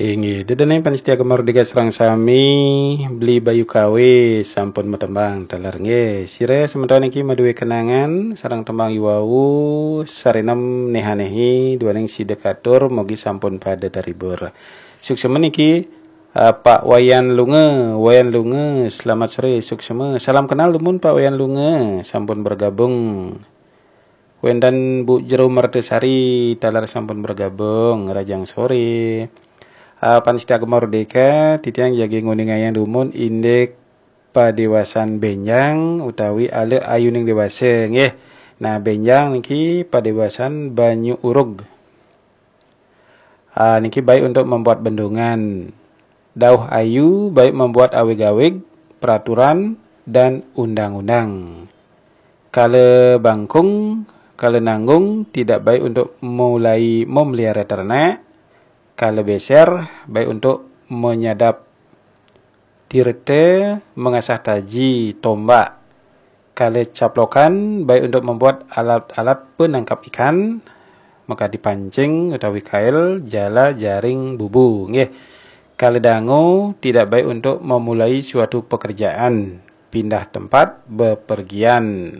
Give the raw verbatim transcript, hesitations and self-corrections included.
Inggih, ida dané pamiarsa Gema Merdeka sareng sami, Beli Bayu Kawe sampun matembang taler nggih. Sira semeton niki madué kenangan sareng tembang iwau, sareng néh-néhi duaning sida katur, mugi sampun pada terhibur. Suksma niki, eh, Pak Wayan Lunga, Wayan Lunga, selamat sore, suksma. Salam kenal dumun Pak Wayan Lunga, sampun bergabung. Wénten Bu Jero Mertasari taler sampun bergabung, rahajeng sore. Ah, pamiarsa Gema Merdeka, titiang jagi nguningayang dumun indik padéwasan bénjang utawi ala ayuning déwasa nggih. Nah, bénjang niki padéwasan banyu urug. Ah, niki baik untuk membuat bendungan. Dauh ayu baik membuat awig-awig, peraturan, dan undang-undang. Kala bangkung, kala nanggung tidak baik untuk mulai memelihara ternak. Kala beser baik untuk menyadap tirta, mengasah taji, tombak. Kala caplokan baik untuk membuat alat-alat penangkap ikan, maka dipancing utawi kail, jala, jaring, bubu. Nggih. Kala dangu tidak baik untuk memulai suatu pekerjaan, pindah tempat, bepergian.